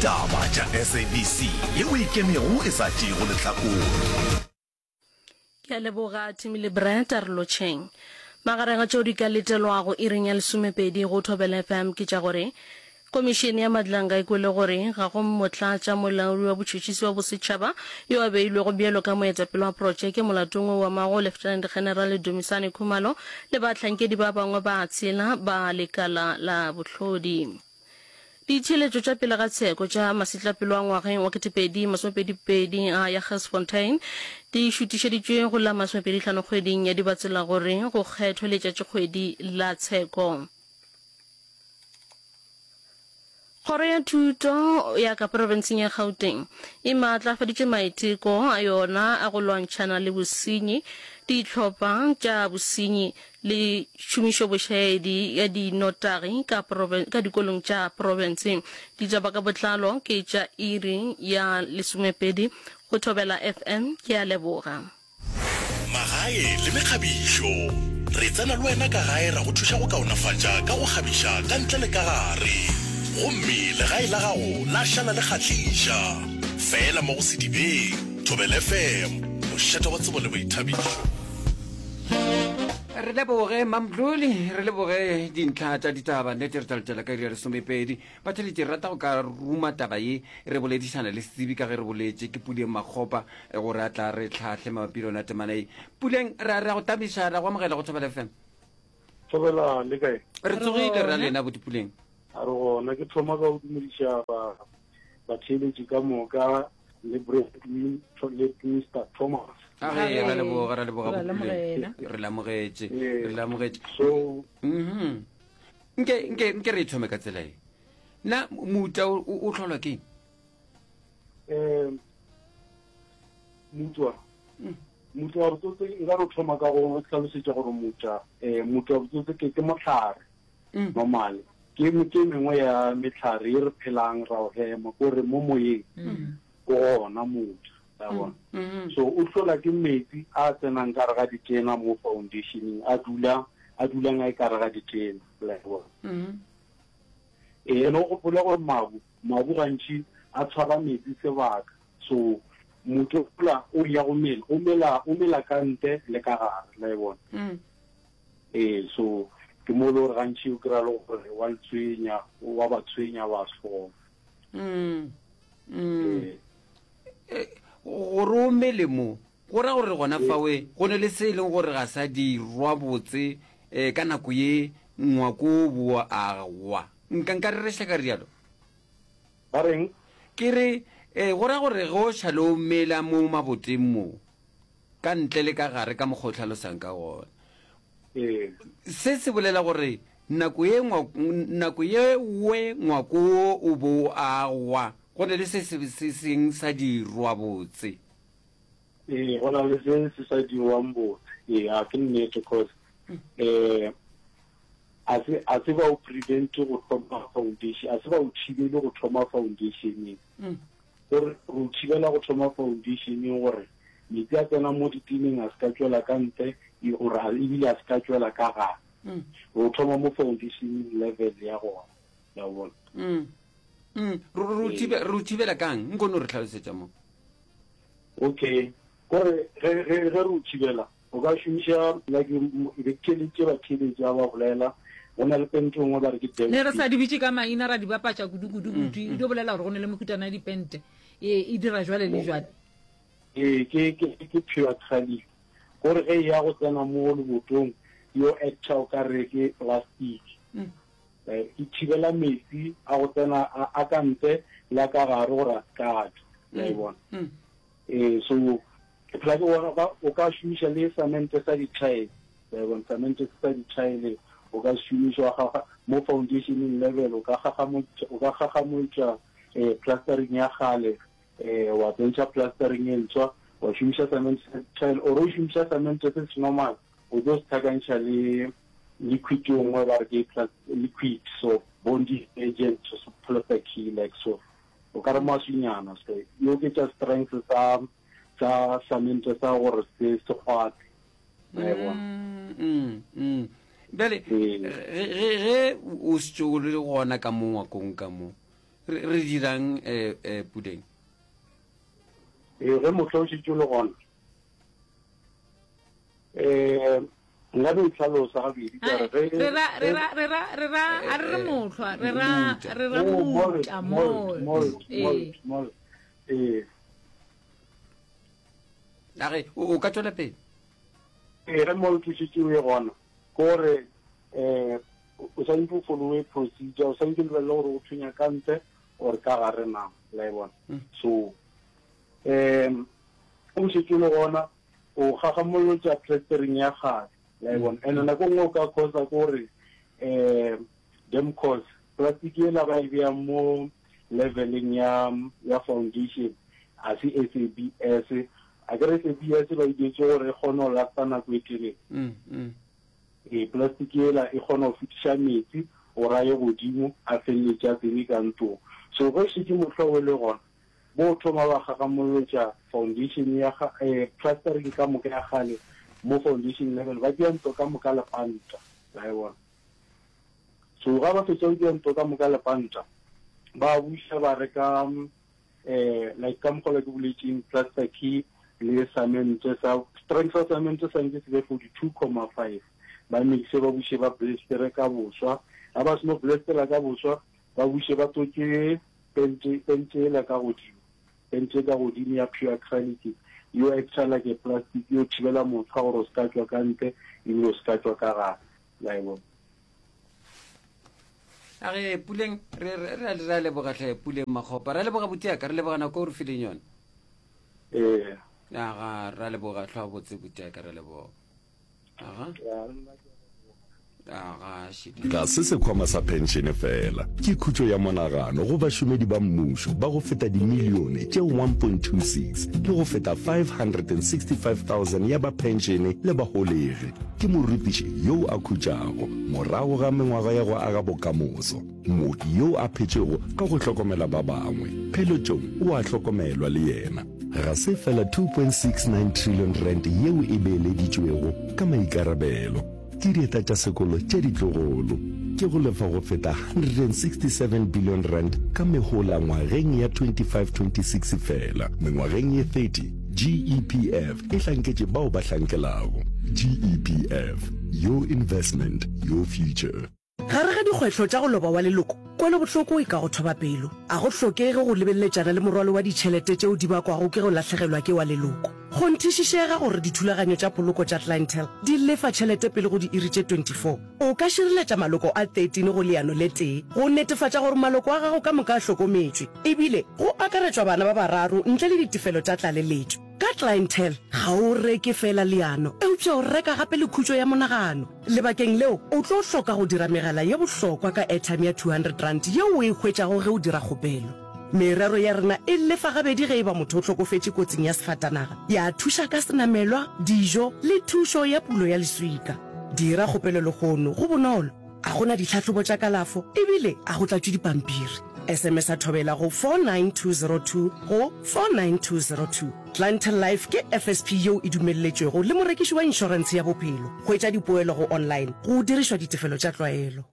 Taba tša SABC yeo e ikemego e sa tšeego lehlakore. Ke a leboga Timmy le Brett, a re lotšheng. Magareng a tšeo di ka letelwago iring ya lesomepedi go Thobela FM ke tša gore Komišene ya Madlanga e kwele gore ga go motlatša molaodi wa botšhotšhisi wa bosetšhaba yo a beilwego bjalo ka moetapele wa protšeke molatong wo o amago Lieutenant General Dumisani Khumalo le bahlankedi ba bangwe ba tshela ba lekala la bohlodi. Ditheeletšo tša pele ga tsheko tša masetlapelo a ngwageng wa 2022 a ya Gersfontein di šutišeditšwe go la 25 kgweding ya Dibatsela gore go kgethwe letšatšikgwedi la tsheko. Kgoro ya Thuto ya ka profenseng ya Gauteng e maatlafaditše maiteko a yona a go lwantšhana le bosenyi, dihlopha tša bosenyi le tšhomišobošaedi ya dinotagi ka ka dikolong tša profense. Ditaba ka botlalo ke tša iri ya lesomepedi go Thobela FM. Ke a leboga. Magae le mekgabišo. Re tsena le wena ka gae ra go thuša go kaonafatša ka go kgabiša ka ntle le ka gare. Gomme legae la gago la šala le kgahliša. Feela mo go Sedibeng, Thobela FM, mošate wa tsebo le boithabišo. Re leboge Mamdluli, re leboge dintlha tša ditaba. Nnete re tla letela ka iri ya lesomepedi. Batheletši, re rata go ka ruma taba ye re boledišana le setsebi ka ge re boletše ke Puleng Makgopa gore a tla re hlahle mabapi le yona temana ye. Puleng, re a re a go tamiša, re a go amogela go Thobela FM. Thobela, le kae? Re tsogile re a lena buti Puleng. A re gona, ke thoma ka go dumediša ba batheeletši ka moka le Bradwin le Mr Thomas. A ge ra leboga, ra leboga Ra Puleng. Re lamogetše, re lamogetše. So Mhm. Nke nke nke re e thome ka tsela e. Na mouta o o hlolwa ke eng? um mutwa mutwa wa botsotse nka no thoma ka go hlalosetša gore mutwa um mutwa wa botsotse ke ke mohlare mm. normal ke ke mengwe ya mehlare e re phelang ra o hema ko re mo moyeng mm. ko gona mutwa ya mm. bona mm-hmm. so o hlola ke metsi a tsenang ka re ga ditena mo foundationeng a dula a dulang a e ka re ga ditena la bona mm-hmm. ee ene o gopole gore mabu mabu gantši a tshwara metsi sebaka so motho ola o ya go mela o mela o mela ka ntle le ka gare la e bona mm. Ee, so ke mo e le gore gantši o kry-a le gore wa le tshwenya, wa ba tshwenya batho. Mm. Mm. Ee. Eh, gore o mele mo go ra gore gona fawe go ne le se e leng gore ga sa dirwa botse um ka nako ye ngwako o boa agwa nka nka rereša ka rialo Ba reng? Ke re um go ra gore ge o šale o mela mo maboteng mo ka ntle le ka gare ka mokgwa o hlalosang ka gona. Ee. Se se bolela gore nako ye nako ye we ngwako wo o bo o agwa, go na le se se se seng sa dirwa botse. Ee, go na le se se sa dirwang botse. Ee, a ke nnete cause eh a se a se ba o prevent go thoma foundation, a se ba o thibele go thoma foundation. Mm. Gore re o thibela go thoma foundation gore metsi a tsena mo ditineng a se ka tšwela ka ntle e gore ebile a se ka tšwela ka gare. Mm. Re o thoma mo foundation level ya gona. Ya bona. Mm. Mm. Re o thibela kang? Nko no re tlhalosetša mo. Okay. Gore ge ge ge re o thibela O ka šomiša like be ke theeleditše batheeletši ba ba bolela, go na le pente nngwe ba re ke Ne re sa di bitše ka maina ra di bapatša kudu kudu kudu. E dio bolela gore go ne le mehutana ya dipente e e dira jwale le jwale. Ee, ke ke ke pure acrylic. Gore ge e ya go tsena mo lebotong yo actor o ka re ke plastic. E thibela metsi a go tsena a ka ntle le a ka gare gore a se ka tšwa. La e bona. Ee, so Ke phela ke bona o o ka šomiša le samente sa di-tile, wa e bona, samente se sa di-tile o ka se šomiša wa gaga mo foundationeng level, o ka gagamotša, o ka gagamotša eh, plastering ya kgale eh, wa tsentšha plastering e ntshwa, wa šomiša samente sa di-tile, or o šomiša samente se se normal, o tlo se tlhakantšha le liquid e nngwe ba re ke liquid so bonding agent so plaster key like so o ka re maswinyana so e oketša strength sa sa samente sa gore se se kgwathe wa e bona. Mm, mm. Bjale ge o šetše o le gona ka mo ngwakong ka mo. Re, re dirang eh, eh, Puleng? Ee, ge mohla o šetše o le gona, um nka no itlhalosa gabedi ka re ge Re ra re ra re ra re ra a re re mohlwa, re ra re ra Oh, mold, mouta, mold, mold. mold, Ee. mold, mold. Ee. A re, o, o ka tšwela pele. Ee, ge mold o šetše o e gona, ke gore um o swanetše o followe procedure, o swanetše o lebelele gore o thunya ka ntle or ka gare na, la e bona. So, um o šetše o le gona, o gagamolotša plastering ya kgale, la e bona. And nako nngwe o ka causa ke gore um dam cause plastic yela ba e bea mo leveleng ya ya foundation a se SABS, a ke re SABS ba e dietše gore e kgone go lasta nako e telele. Ee, plastic yela e kgona go fetiša metsi gore a ye godimo a feleletše a tsene ka ntlong. So ge šetše mohla o le gona, bo thoma ba gagamolotša foundation ya ga, eh, plastering ka moka ya kgale mo foundation level, ba dia ntlo ka moka lepanta, la e bona. So ga ba fetša go dia ntlo ka moka lepanta, ba buša ba reka eh like ka mokgwa ke boletšeng plaster key le cement sa strength sa cement sa ntse se be 42,5 ba mixe ba buše ba blastere ka boswa ga ba seno blastera ka boswa ba buše ba totše pente pente ela ka godimo pente ka godimo ya pure acrylic yo extra like a plastic yo thibela motho gore o se ka tšwa ka ntle ebile o se ka tšwa ka gare la e bona. A re Puleng, re, re, re, re a leboga hle Puleng Makgopa. Re a leboga butiaka, re leboga nako o re fileng yona. Ee. Aga, re a leboga hlwa botse butiaka, re a leboga. Aga. Aga, šidi. Ga se sekhwama sa phenšene feela, ke khutšo ya monagano go bašomedi ba mmušo ba go feta dimilione tše 1.26 le go feta 565,000 ya ba phenšene le baholegi. Ke morutiši yo a khutšago morago ga mengwaga ya go aga bokamoso, mooki yo a phetšego ka go hlokomela ba bangwe. Pheletšong o a hlokomelwa le yena. Ga se feela R2.69 trillion yeo e beeleditšwego ka maikarabelo ke dieta tša sekolo tša ditlogolo, ke go lefa go feta R167 billion ka mehola ngwageng ya 25-26 feela. Mengwageng ye 30, GEPF e hlanketše bao ba hlankelago. GEPF, your investment, your future. Gare ga dikgwetlho tša go loba wa leloko, kwelobohloko e ka go thoba pelo. A go hlokege go lebeleletšana le morwalo wa ditšhelete tšeo di bakwago ke go lahlegelwa ke wa leloko. Kgonthišišega gore dithulaganyo tša poloko tša Clientele di lefa tšhelete pele go diiri tše 24. O ka šireletša maloko a 13 go leano le tee go netefatša gore maloko a gago ka moka a hlokometšwe, ebile go akaretšwa bana ba bararo ntle le ditefelo tša tlaleletšo. Ka Clientele, ga o reke feela leano, eupša o reka gape le khutšo ya monagano. Lebakeng leo, o tlo hloka go dira megala ye bohlokwa ka airtime ya R200 yeo o e hwetšago ge o dira kgopelo. Merero ya rena e lefa gabedi ge e ba motho o hlokofetše kotsing ya sefatanaga, ya thuša ka senamelwa, dijo le thušo ya pulo ya leswika. Dira kgopelo lehono, go bonolo, ga go na ditlhahlobo tša kalafo ebile ga go tlatšwe dipampiri. SMS-a Thobela go 49202 go 49202. Clientele Life ke FSP yeo e dumelletšwego le morekiši wa inšorentshe ya bophelo. Hwetša dipoelo go online go dirišwa ditefelo tša tlwaelo.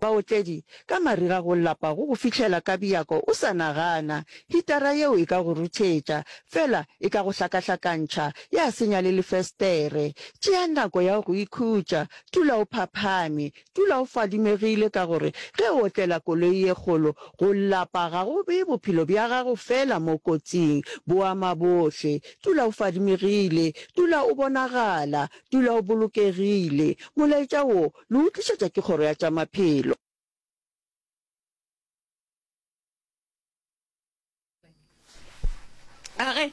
Baotledi, Ka mariga go lapa go go fihlela ka bjako o sa nagana. Hitara yeo e ka go ruthetša, fela e ka go hlakahlakantšha, ya senya le lefestere. Tšea nako ya go ikhutša, dula o phaphame, dula o fadimegile ka gore ge o otlela koloi ye kgolo, go lapa ga go bee bophelo bja gago fela mo kotsing, bo ama bohle. Dula o fadimegile, dula o bonagala, dula o bolokegile. Molaetša wo Le o tlišetša ke Kgoro ya tša Maphelo. Age,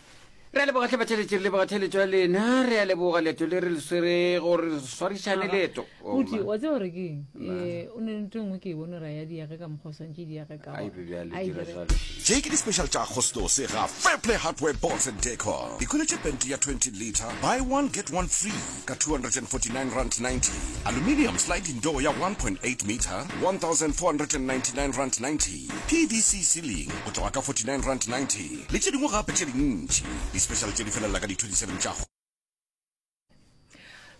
re a leboga tlhe batheletši, re leboga theletšo ya lena, re a leboga leeto le re le swere gore re swarišane leeto. Oh, Buti, ma. wa tseba gore ke eng? Eh, o ne le ntho e nngwe ke e bone gore a ya diage ka mokgwa o swantše diage ka Ai, gona. be bjale, A e dira dire. jwalo. Tše ke di-special tša Agostose ga Fairplay Hardware Boards and Decor. Ikhweletše pente ya 20 litre, buy one get one free ka R249.90, aluminium sliding door ya 1.8 metre, R1,499.90, PVC ceiling go tloga ka R49.90 le tše dingwe gape tše dintši. Di-special tše di felela ka di 27 tša.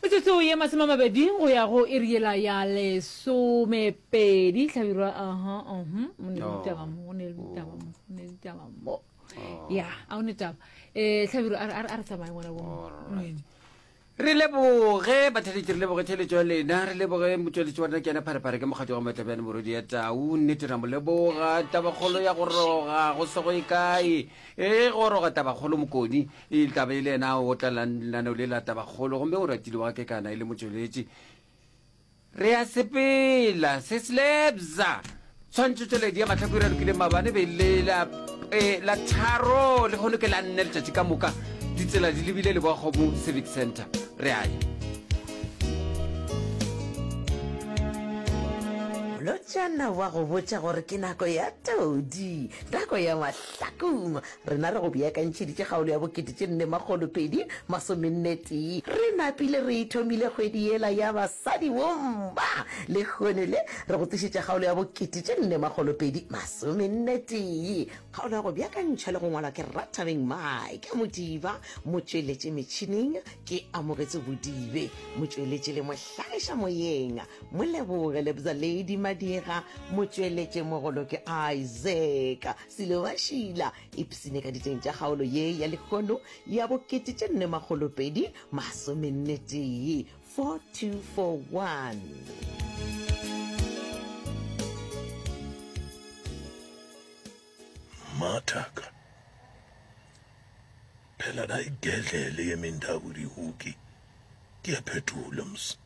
Metsotso ye masomamabedi go ya go iri yela ya lesomepedi. Hlabirwa, aha, uhum, go ne le ditaba mo, go ne le ditaba mo, go ne le ditaba mo. Ya, a go ne taba. Eh, Hlabirwa, a re- a re a re tsamaye ngwana bo. Alright. Re leboge batheletši, re leboge theletšo ya lena, re leboge motšweletši wa rena ke yena Pharephare ke mokgatši wa Matlabjane morwedi ya Tau. Nnete ra mo leboga. Tabakgolo ya go roga go se go ye kae. E goroga Tabakgolo Mokoni e tla be e le yena a otla lenaneo le la Tabakgolo gomme o ratile wa Kekana e le motšweletši. Re a sepela, se slebza. Tshwantšhotšweledi ya mahlako e ralokile maabane be le la, e, la tharo, lehono ke la nne letšatši ka moka. Ditsela di lebile Leboakgomo Civic Centre. Re a ya. Molotšana wa go botša gore ke nako ya todi, nako ya mahlakong. Rena re go beakantšheditše kgaolo ya bokete tše nne makgolo pedi masomenne tee. Re napile re e thomile kgwedi yela ya basadi bomma. Lehono le re go tlišetša kgaolo ya bokete tše nne makgolo pedi masomenne tee. Kgaolo ya go beakantšhwa le go ngwalwa ke Rathabeng Mike Modiba, motšweletši metšhineng ke Amogetso Bodibe, motšweletši le mohlagiša moyeng Moleboge Lebza Lady Madira, motšweletši mogolo ke Isaac Silobašila. Ipsine ka diteng tša kgaolo ye ya lehono ya bokete tše nne makgolo pedi masomenne tee, 4241. Mmathaka, phela da igedlele yemindaku dihuki ke ya phetola mos.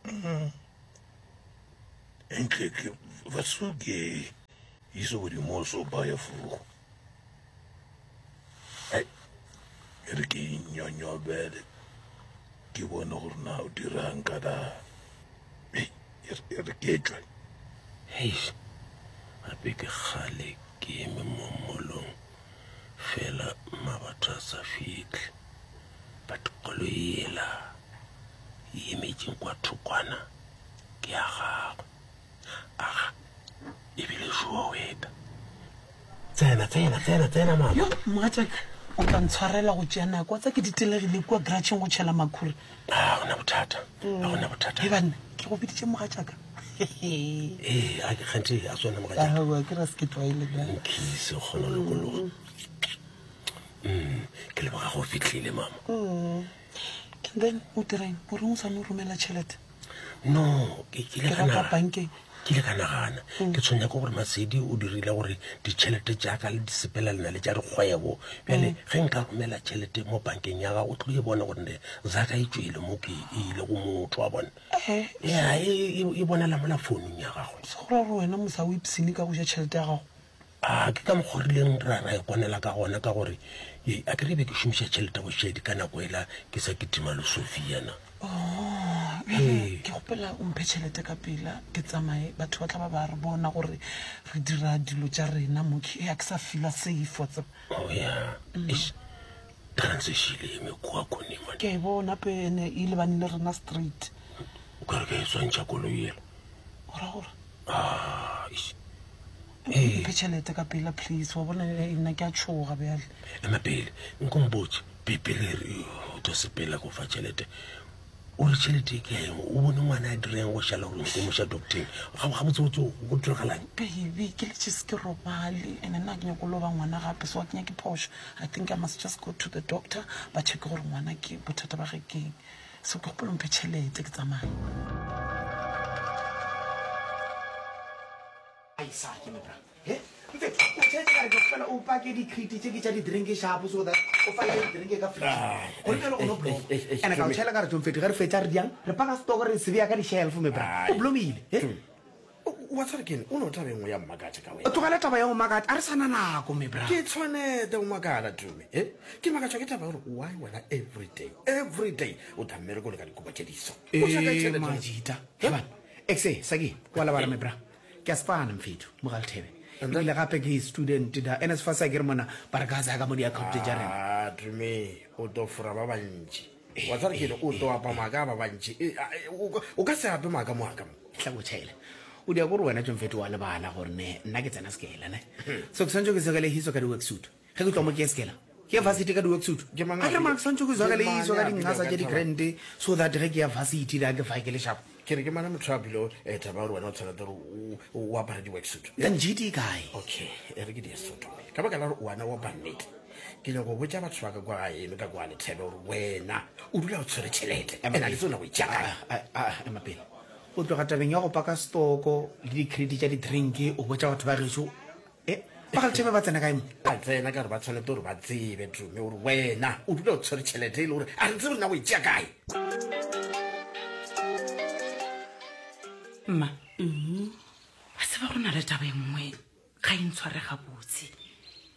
Mm. Eintlik wat soek jy hier so oor die mos op baie vroeg? Ai, e re ke inyonyobele ke bone gore na o dirang ka da. Ei, e re- e re ke tšwe. Heish, gape ke kgale ke eme mo molong fela mabatho a sa fihle. But koloi yela e emetšeng kwa thokwana ke ya gagwe. Aga, ebile šoa o eta. Tsena, tsena, tsena, tsena mama. Yo, mogatšaka, o tla ntshwarela go tšea nako. Wa tseba ke ditelegile kua gratšheng go tšhela makhura. A gona bothata, a gona bothata. He banna, ke go biditše mogatšaka. Ee, a ke kganthe a swana mogatšaka. Aowa, ke ra se ke tlwaele bjale. Nkhise, o kgona go lokologa. Mm, ke leboga go fihlile mama. Mm. And then o direng? O reng o sa no romela tšhelete? No, ke ke ile Ke ka ra kwa naga- bankeng. ke ile ka nagana ke tshwenya ke gore masedi o dirile gore ditšhelete tša ka le di sepelelana le tša dikgwebo bjale ge nka romela tšhelete mo bankeng ya gago o tlo e bona gore ne zaka e tšwele mo ke e ile go motho wa bona Eh, ya e, e, e bonala mola founung ya gagwe se go ra gore wena mosa o ipshine ka go ja tšhelete ya gago. A ke ka mokgwa o rileng ra, ra ikwanela ka gona, ka gore ye, a ke re be ke šomiša tšhelete bošedi ka nako ela ke sa kitima le Sophia na. Oh, bjale ke kgopela o mphe tšhelete ka pela ke tsamaye, batho ba tla ba ba re bona gore re dira dilo tša rena mo, ke a ke sa feela safe wa tseba. Oh ya, eish, transe e eme kua khoneng man. Ke a e bona pene e lebane le rena straight. O ka re ke a e swantšha koloi ela. O ra gore? Ah, eish. Ee. Mphe tšhelete ka pela please, wa bona eh, nna ke a tšhoga bjale. Ema pele, nko mpotše, pe pele re o tlo sepela ko fa tšhelete. O re tšhelete e ke ya eng? O bone ngwana a direng go šala gore nyako moša docteng. Ga ga botse botse go diragalang? Baby, ke letše se ke robale and nna ke nyako loba ngwana gape so ga ke nyake phošo. I think I must just go to the doctor ba checke gore ngwana ke bothata ba ge keng. So ke kgopela o mphe tšhelete ke tsamaye. Isaac, my bra. He? Mfethu, o tšhetse ka re ke kgopela o pake di-crate tše ke tša di-drink shapo so that o fake di-drink ka fridge. Gore bjale o no bloma. And ka o tšhela ka re tšo mfethu ge re fetša re diang re paka stock re se bea ka di-shelf my bra. O blomile. He? Wa tseba ke eng? O no taba e nngwe ya mmakatša ka wena. Tlogela taba ya go makatša, a re sa na nako my bra. Ke tshwanete go makala Tumi. He? Ke makatšwa ke taba ya gore why wena every day, every day o tla mmerekong ka dikobo tše diso. O tšwa kae Eh, tšhelete? Majita. He bana. Exe, Saki, wa lebala my bra. Ke a spana mfethu, Mogalthebe. Ebile gape ke student da NSFAS a ke re mona ba re ka tsaya ka mo di-account tša rena. Ah, Tumi, o tlo fora ba bantši. Wa tseba ke eng? O tlo apa maaka a ba bantši. E, a, e, o ka- o ka se ape maaka mo aka mo. Tla go tšhaela. O dia gore wena tšo mfethu wa lebala gore ne nna ke tsena sekela ne. So ke swantse ke sekele hiso ka di-worksuit. Ge ke tloga mo ke ye sekela. Ke ya varsity ka di-worksuit. Ke mang A a ke re mara ke swantšwe ke Ke le mang iso ka a dinqasa bilego tša ka taba? di-grand so that ge ke ya varsity le ga ke fa ke le sharp. Ke re ke mang motho a bile eh, taba gore wena o tshwanetse gore o- o apare di-worksuit. Njiti e kae? Okay, e re ke di so Tumi. Ka baka la gore wena wa bannete. Ke nyaka go botša batho ba ka kwa gaeno ka kwa Lethebe gore wena o dula o tshwere tšhelete. Ema And a ke pele. tsebe na go e tšea kae. Ah, ah, ah, ema pele. O tloga tabeng ya go paka stoko le di-credit tša di-drink o botša batho ba gešo e ba ga Lethebe ba tsena kae mo? Ba tsena ka gore ba tshwanetse gore ba tsebe Tumi gore wena o dula o tshwere tšhelete e le gore a re tsebe gore na o e tšea kae. Mma, a tseba go na le taba e nngwe ga e ntshware gabotse.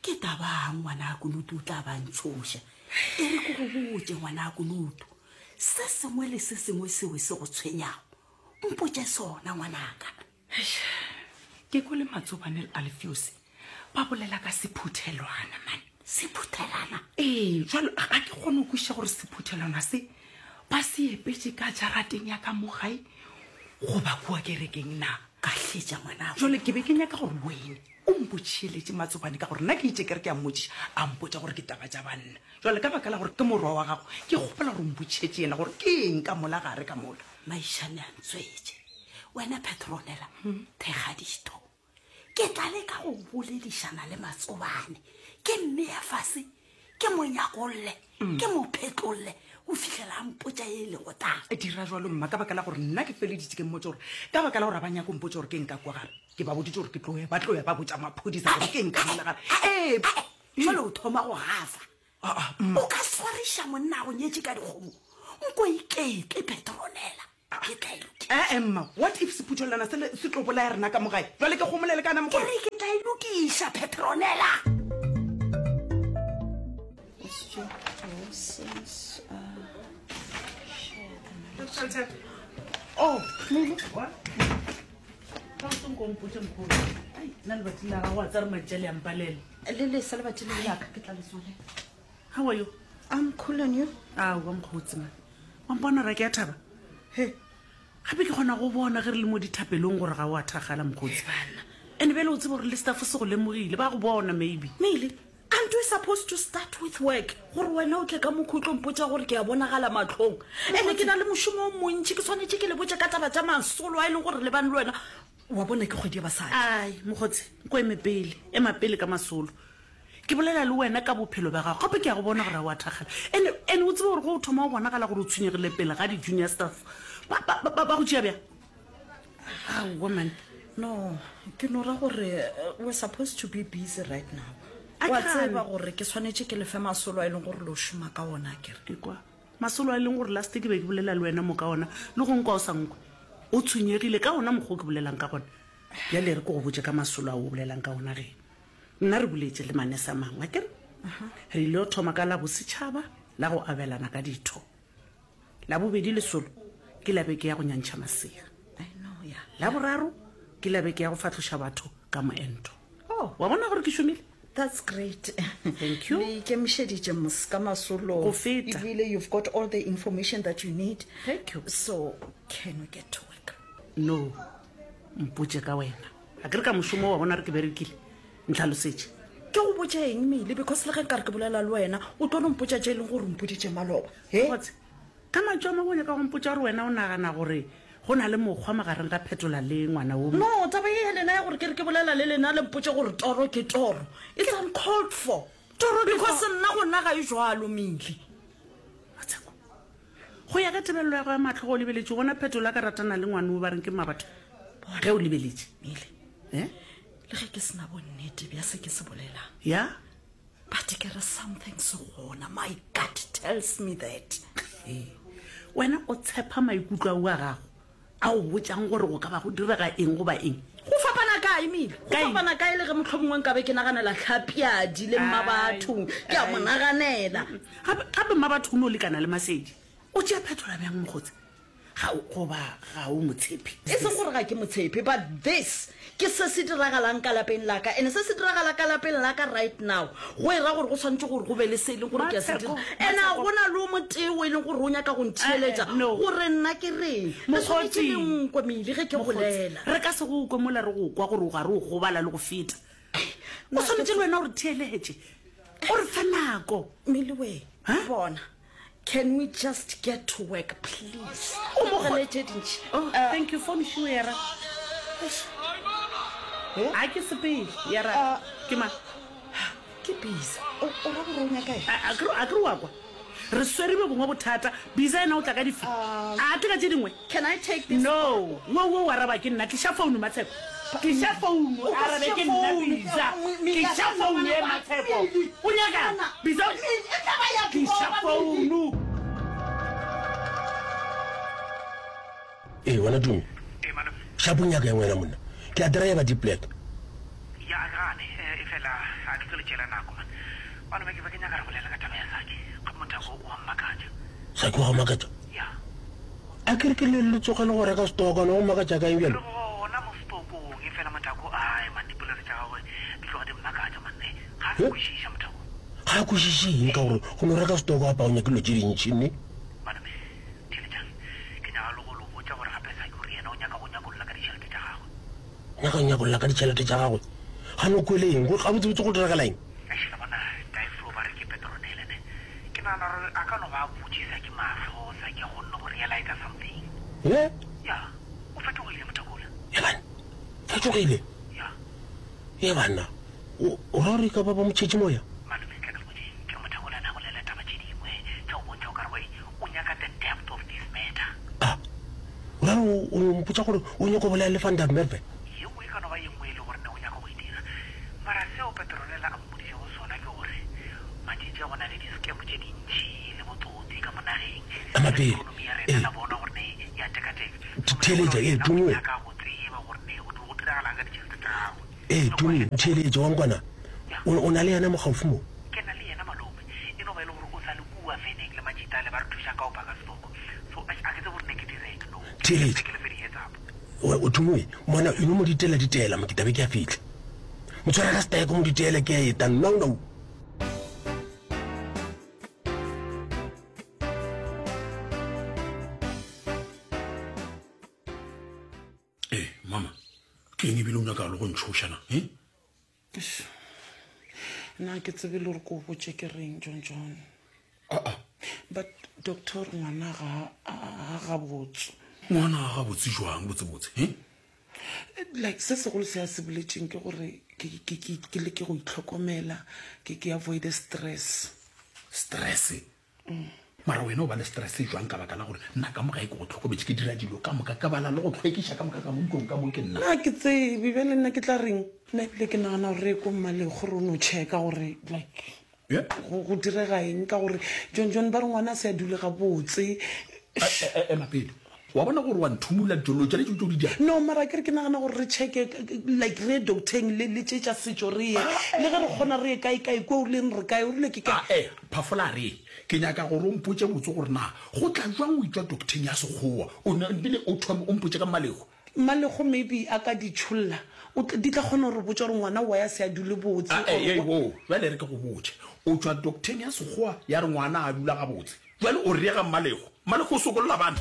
Ke tabang ngwana Kunutu o tla ba ntshoša. E re ke go botše ngwana Kunutu, se sengwe le se sengwe seo se go tshwenyago, mpotše sona ngwanaka. Eish, ke kwele Matsobane le Alfios ba bolela ka sephuthelwana man. Sephuthelwana? Ee, jalo ga ke kgone go kwešiša gore sephuthelwana se ba se epetše ka jarateng ya ka mo gae goba kua kerekeng na. Ka hletša ngwanabo. Jale ke be ke nyaka gore wene o mpotšheletše Matsobane ka gore nna ke itše ke re ke a mmotšiša a mpotša gore ke taba tša banna. Jale ka baka la gore ke morwa wa gago ke kgopela gore o mpotšhetše yena gore ke eng ka mola gare ka mola. Maišane a ntswetše. Wena Petronella, thekga ditho. Ke tla leka go boledišana le Matsobane. Ke mmea fase, ke mo nyakolle, ke mo phetlolle go fihlela a mpotša ye e lego taba. Dira jwalo mma, ka baka la gore nna ke feleditše ke mmotša gore ka baka la gore a ba nyake go mpotša gore ke eng ka kwa gare. Ke ba boditše gore ke tlo ya, ba tlo ya ba botša maphodisa gore ke eng ka mola gare. Ee. Jwale o thoma go gafa. O ka swariša monna a go nyetše ka dikgomo? Nko iketle, Petronella. Ke tla e lokiša. Ee, mma, what if sephuthelwana sele se tlo bolaya rena ka mo gae? Jwale ke gomolele kana Ke mogolo. re ke tla e lokiša, Petronella. Oh, what? Ka o senko mpotše mokgolo. Ai, nna lebati la gago a tsare mantša le a mpalela. Le lesa lebati le laka ke tla le tswalela. How are you? I'm cool and you? Aowa mokgotsi man. Wa mpona ra ke a thaba? He. Gape ke kgona go bona ge re le mo dithapelong gore ga o a thakgala mokgotsi. And bjale o tsebe gore le staff se go lemogile, ba go bona maybe. Mele, aren't we supposed to start with work? Gore wena o tle ka mokgwa o tlo mpotša gore ke a bonagala mahlong. Ene ke na le mošomo o montši, ke swanetše ke le botše ka taba tša masolo a e leng gore re lebane le wena. Wa bona ke kgwedi ya basadi. Ai, mokgotsi, nko eme pele, ema pele ka masolo. Ke bolela le wena ka bophelo bja gago, gape ke a go bona gore ga o a thakgala. Ene, ene o tsebe gore ge o thoma go bonagala gore o tshwenyegile pele ga di-junior staff, ba, ba, ba, ba go tšea bjang? Aowa man. No, ke no ra gore eh, we're supposed to be busy right now. A Wa ke tseba gane. gore ke swanetše ke lefe masolo a e leng gore lo šoma ka ona akere. Ekwa, masolo a e leng gore last ke be ke bolela le wena mo ka ona, le go nkwa o sa nkwe. O tshwenyegile ka ona mokgwa o ke bolelang ka gona. Bjale e re ke go botše ka masolo ao o bolelang ka ona ge. Nna re boletše le manese a mangwe, akere? Re ile go thoma ka la bosetšhaba la go abelana ka ditho. La bobedi lesolo ke la beke ya go nyantšha masea. La boraro ke la beke ya go fahloša batho ka moento. Oh. Wa bona gore ke šomile? That's great. Thank you. Le ikemišeditše mos ka masolo. Go feta. Ebile you've got all the information that you need. Thank you. So can we get to work? No. Mpotše ka wena. A ke re ka mošomo wa bona re ke berekile. Ntlhalosetše. Ke go botše eng Mele because le ge nkare ke bolela le wena o tlo no mpotša tše e leng gore o mpoditše maloba. He? Kgotse, ka mantšu a mangwe o nyaka go mpotša gore wena o nagana gore go na le mokgwa magareng ga Phetola le ngwana wo? No, taba ye ya lena ya gore ke re ke bolela le lena le mpotše gore toro ke toro, it's uncalled for. Toro ke Because toro. nna gona ga e jwalo Mele. Matsheko, go ya ka tebelelo ya go ya mahlo ge o lebeletše, o bona Phetola a ka ratana le ngwana wo ba reng ke Mmabatho? Ge o lebeletše. Mele, Eh? le ge ke se na bonnete bja se ke se bolelang. Ya? But ke re something se gona, my gut tells me that. Ee. Wena o tshepa maikutlo ao a gago a go botšang gore go ka ba go direga eng goba eng? Go fapana kae, Mile? Go Ka eng? fapana kae le ge mohlomongwe nkabe ke naganela Tlhapiadi le Mmabatho, ke a mo naganela. Gape, gape Mmabatho o no lekana le Masedi. O tšea Phetola bjang, mokgotsi? Ga o, goba ga o mo tshepe? E seng gore ga ke mo tshepe, but this ke se se diragalang ka lapeng la ka. And se se diragala ka lapeng la ka right now, go e ra gore go swanetše gore go be le se e leng gore ke a se dira. And a go na le o motee o e leng gore o nyaka go ntheeletša gore nna ke reng. Le swanetše le nkwe Mili ge ke bolela. Re ka se go kwe mola re go kwa gore o gare o gobala le go feta. O swanetše le wena o re theeletše. O re fe nako. Meliwe, bona. Can we just get to work please? O mo Tlogele tše dintši. Oh, thank you phone šiwe ya ra. A ke sepele ya ra. Ke mang? Ke Bisa. O o ra gore o nyaka eng? A ke a ke re wa kwa. Re swere bjo bongwe bothata. Bisa yena o tla ka dife? A tle ka tše dingwe? Can I take this? No. Wo wo o araba ke nna. Tliša founu Matsheko. Tliša founu O ka arabe se ke nna founu. Bisa. Mi- Tliša founu ye Matsheko. O nyakang? Bisa. E tla ba ya Tliša founu. Ee, wena Tumi. Shapo nyaka eng wena monna? Ke a driver di black. Ya a ke gane, efela a ke tlo le tšeela nako man. Malome ke be ke nyaka re bolela ka taba ya Saki. Gape Mothako o a mmakatša. Saki wa go makatša? Ya. A ke re ke le le tsoge le go reka stoko, ne go makatša ka eng bjale? Re gona mo stokong, efela Mothako ae man dipolelo tša gagwe di tloga di mmakatša man. Ga a sa kwešiša Mothako. Ga a kwešiše eng ka gore go no reka stoko apa o nyake dilo tše dintši ne? Malome, Theeletšang, ke nyaka le go lo botša gore gape Saki o re yena o nyaka go nyakolla ka ditšhelete tša gagwe. Nyaka go nyakolla ka ditšhelete tša gagwe? Gane o kwele eng? Go, gabotsebotse go diragala eng? Eish, la bona, Daiflo ba re ke Petronele ne. Ke nagana gore a ka no ba a butše Saki mahlo, Saki a kgonne go realiza something. Ye? Ya, o fetogile mothakola. Ye banna, fetogile? Ya. Ye banna, o, o ra gore e ka ba ba mo tšhetše moya? Malome, tla ke le botše, ke re mothakola na bolela taba tše dingwe tša go bontšha o ka re gore o nyaka the depth of this matter. A, o ra gore o, o mpotša gore o nyaka go bolaya le Van der Merwe? Yeo e ka no ba ye nngwe e le gore ne o nyaka go e dira. Mara seo Petronella a mmoditšego sona ke gore matšatši a go na le di-scam tše dintši le botsotsi ka mo nageng. Ema pele. Economy ya rena Ee. la bona gore ne ya tekateka. So Theeletša, mothakola ee, yena o Tumi we. nyaka go tseba gore ne go go diragalang ka ditšhelete tša gagwe. Ee, Tumi, ntheeletše, wa nkwana? O, o na le yena mo gaufi mo? Ke na le yena, malome. E no ba e le gore o sa le kua veneng le matšita ale ba re thušang ka go paka setoko. So, eish, a ke tsebe gore ne ke direng. No, ke Theeletša. ke le fe di-heads up. O, o Tumi, mona, e no mo ditela ditela mo, ke tla be ke a fihla. Mo tshwara ka seteke, o mo ditele, ke a eta, now, now. Ee, mama, ke eng ebile o nyaka le go ntšhoša na? E? Nna ke tsebe le gore ko botše ke reng, John John. Aa. But doctor ngwana ga a gabotse. Ngwana a gabotse jwang botsebotse? E? Like se segolo se a se boletšeng ke gore ke ke ke ke leke go itlhokomela, ke ke avoid stress. Stress? Mara wena o ba le stress jwang ka baka la gore nna ka mo gae ke go tlhokometše, ke dira dilo ka moka, ka bala le go hlwekiša ka moka ka mo ntlong ka mo ke nna. Nna ke tsebe bjale nna ke tla reng? Nna ebile ke nagana gore re ye ko Mmalekgo re no checka gore like go go direga eng ka gore John John ba re ngwana a se a dule gabotse. Ema pele, wa bona gore wa nthumula dilo tšale tšeo tšeo di diang? No mara akere ke nagana gore re checke like re ye docteng le le tše tša setšo re ye le ge re kgona re ye kae kae kua o rileng re kae o rile ke kae. Ae, Phafola a re, Ke nyaka gore o mpotše botse gore na go tla jwang o etšwa docteng ya Sekgowa o bile o thome o mpotše ka Mmalego. Mmalego maybe a ka di tšholla o tla di tla kgona go re botša gore ngwana why a se a dule botse Ae, or ei, woo, bjale e re ke go botše, o tšwa docteng ya Sekgowa ya re ngwana a dula gabotse, bjale o re ye ga Mmalego. Mmalego o sokolla bana.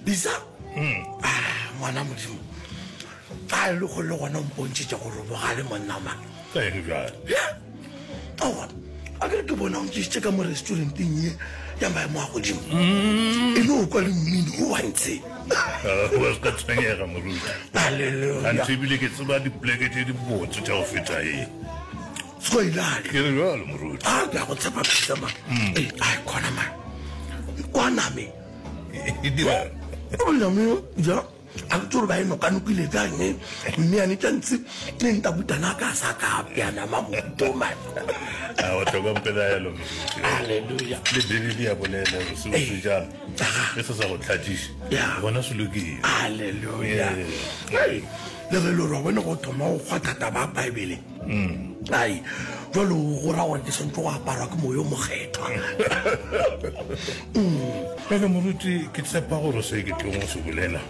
Bisa ah, ngwana modimo a le go le gona o mpontšhitše gore o bogale monna mang Ka eng bjale? aowa a kere ke bona o ntšisitše ka mo restauranteng ye ya maemo a godimo e no kwa le mmino o wa ntshe Wa se ka tshwenyega moruti. Hallelujah. Anthe ebile ke tseba dipoleke tše dibotse tša go feta ye. Skoilale. Ke re bjalo moruti. A ke a go tshepa Bisa man. Ee, ai khona man. Kwa name. E dira. O name ja a ke tsore ba e nokanokile kang mme yane tša ntse ne ntabutana ka sa ka apea nama mohuto man. A wa tlhoka mpelaelo moruti. Hallelujah. Le Bibele ya bolela gore se o se jang ge se sa go tlhatšiše gona se lokile. Hallelujah. Hey, le ge le gore wa bone go thoma go kgwatha taba ya Bible. Ai, jalo go ra gore ke swantse go aparwa ke moyo mokgethwa. Bjale moruti, ke tshepa gore se ke tlong go se bolela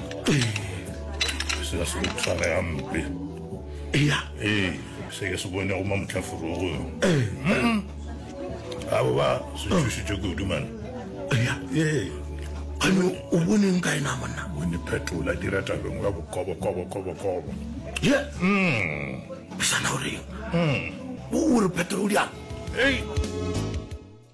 se ka se go tshware gampe. Ea. Ee, se ke se bonego mamotlaforogo. Abo ba se tšhošitše kudu man. Ea. Ee. Gane o boneng ka ena monna? Bone phetola dira tabeng ya bokobo kobo kobo kobo. Ye. Mm. Bisana o reng? Mm. O re phetola o diang? Ei.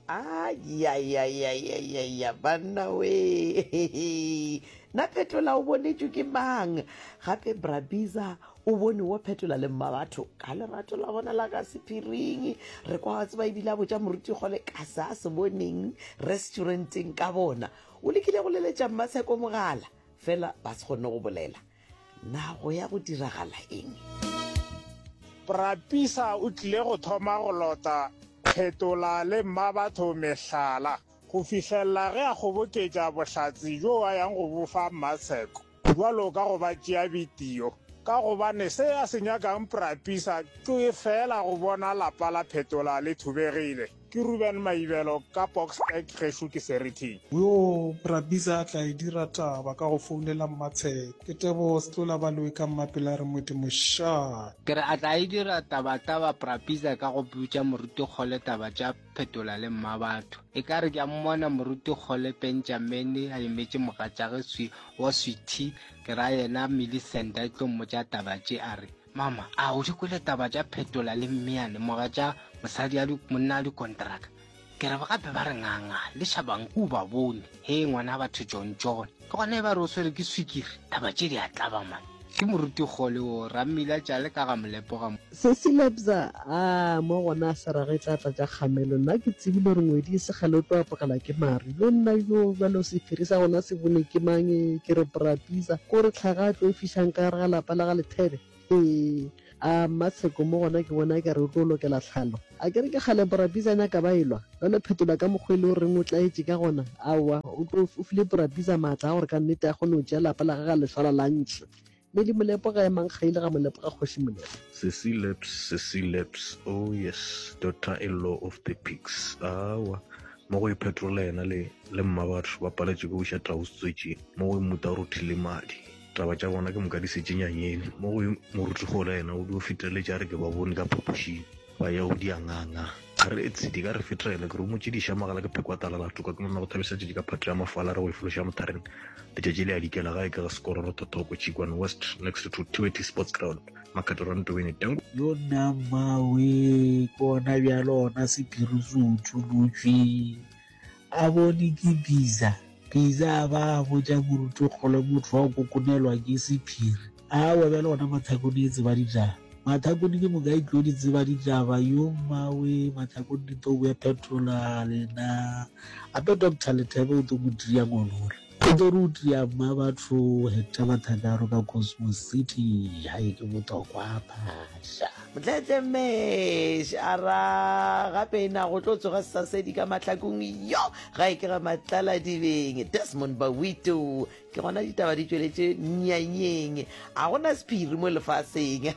Ayayayayaya banna we na phetola o bonetšwe ke mang gape brabiza o bone wo phetola le mma batho ka lerato la bona la ka sephiring re kwa wa tseba ebile a botša moruti kgole ka se a se boneng restauranteng ka bona o lekile go leletša mmatsheko mogala fela ba se kgone go bolela na go ya go diragala eng Brapisa o tlile go thoma go lota Phetola le Mmabatho mehlala go fihlelela ge a kgoboketša bohlatse bjo a yang go bo fa Mmatsheko bjalo ka go ba tšea bitio ka gobane se a se nyakang Prapisa ke feela go bona lapa la Phetola le thubegile. Ke Ruben Maibelo ka Boksburg gešo ke Seriting. Yoo Brabisa a tla e dira taba ka go founela Mmatsheko. Ke Tebogo Setlola Baloyi ka Mmapela re Modimo shaa. Ke re a tla e dira tabataba Brabisa ka go botša Moruti Kgole taba tša Phetola le Mmabatho. E ka re ke a mmona Moruti Kgole Pentšamene a emetše mogatšage swi wa Sweety ke ra yena Millicent a tlo mmotša taba tše a re Mama, a o di kwele taba tša Phetola le Mmeyane mogatša mosadi a monna a dikontraka? Ke re gape ba re nganga le Shabanku o ba bone. Hee ngwana batho John John. Ke gona e ba re o swere ke swikiri. Taba tše di a tlaba man. Ke moruti kgole wo, Rammila tšale ka ga Molepo ga. Sesi Lebza, Aa, mo gona a se rage tla tla tša kgamelo. Nna ke tsebile gore ngwedi e se kgale o tlo apogela ke maru. Yo nna yo, bjalo sephiri sa gona se bone ke mang? Ke re Bra Bizza, ko re tlhaga a tlo e fišang ka gare ga lapa la ga Lethebe? Hee, a Mmatsheko mo gona ke bona e ka re o tlo lokela tlhalo. A ke re ke kgale Bra Bizza a nyaka ba elwa? Bjalo Phetola ka mokgwa e le o reng o tlaetše ka gona? Aowa, o tlo o file Bra Bizza maatla a gore ka nnete a kgone go tšea lapa la gagwe a le swara lunch. Medi Molepo ga emang kgaile ga Molepo ga Kgoši Molepo. Sesi Labs, Sesi Labs, oh yes, daughter in law of the pigs. Awa, mo go iphetrola yena le le mmabatho ba paletšwe ke go iša tau setswetšing, mo go mmuta o rothile madi. Taba tša bona ke moka di setše nyanyeng. Mo go moruti gola yena o dio feteletša a re ke ba bone ka phapošing ba ya go dia nganga. A re etse di ka re fetela ke romotše di iša magala ke phekwa tala la toka ke monna go thabisa tšatši ka phatlo ya mafala re go e fološa mothareng letšatši le a dikela gae ke ga sekororo thothoko Chikwane West next to Tiweti Sports Ground Makgato Rantobeni Tango. Yo nna mmawe ke ona bjalo ona sephiri se utolotšwe a bone ke Biza Biza a ba a botša moruti kgole motho wa go kokonelwa ke sephiri Aowa bjale gona Mathakone e tseba ditaba. Mathakone ke moka e tlo di tseba ditaba. Yo mmawe Mathakone di tlo boya phetola lena. Gape Doctor Lethebe o tlo mo tria ngolola. O tlo re o tria mma batho Hector Mathakaro ka Cosmos City. Hai ke botokwa phasha. Motletle Mesh a ra gape na go tlo tsoga sesasedi ka mahlakong yo ga e ke ga matlala dibeng Desmond Bawito Ke gona ditaba di tšweletše nyanyeng. A gona sephiri mo lefaseng.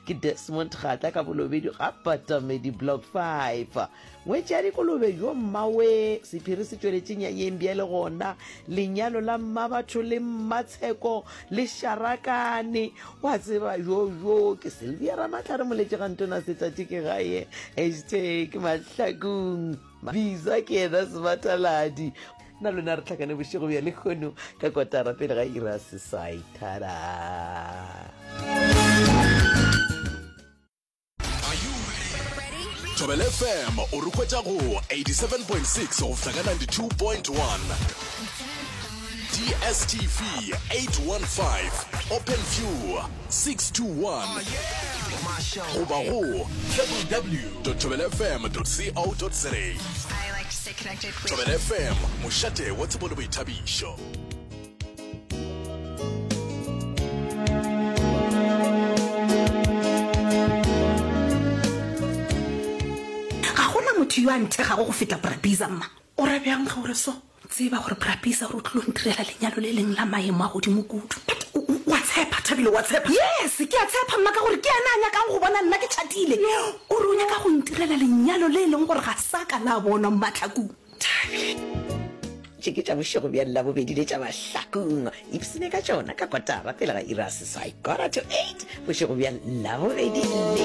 Ke Desmond Kgatla ka Bolobedu ga Patamedi Block 5. Ngwetši ya dikolobe yo mmawe sephiri se tšweletše nyanyeng bjale gona lenyalo la mmabatho le mmatsheko le šarakane. Wa tseba yo yo ke Sylvia Ramatlhare moletše ga ntona setšatši ke gae hashtag mahlakong. Biza ke yena sebataladi. Nna le wena re hlakane bošego bja lehono ka kotara pele ga ira seswai. Thada. Thobela FM o re hwetša go 87.6 go fihla ka 92.1. DSTV 815, OpenView 621 goba go www.thobelafm.co.za. Thobela FM, mošate wa tsebo le boithabišo. Ga gona motho yo a nthegago go feta Brabiza, mma. O ra bjang ge o re so? Tseba gore Brabisa gore o tlilo ntirela lenyalo le leng la maemo a godimo kudu. But o, o, o a tshepa, Thabile, o a tshepa? Yes, ke a tshepa, mma, ka gore ke yena a nyakang go bona nna ke tšhatile. O re o nyaka go ntirela lenyalo le e leng gore ga sa ka la bonwa Mmatlhakung. Thabile. Tše ke tša bošego bja Labobedi le tša Mahlakung. Ipsene ka tšona ka kotara pele ga iri ya seswai, quarter to eight, bošego bja Labobedi le.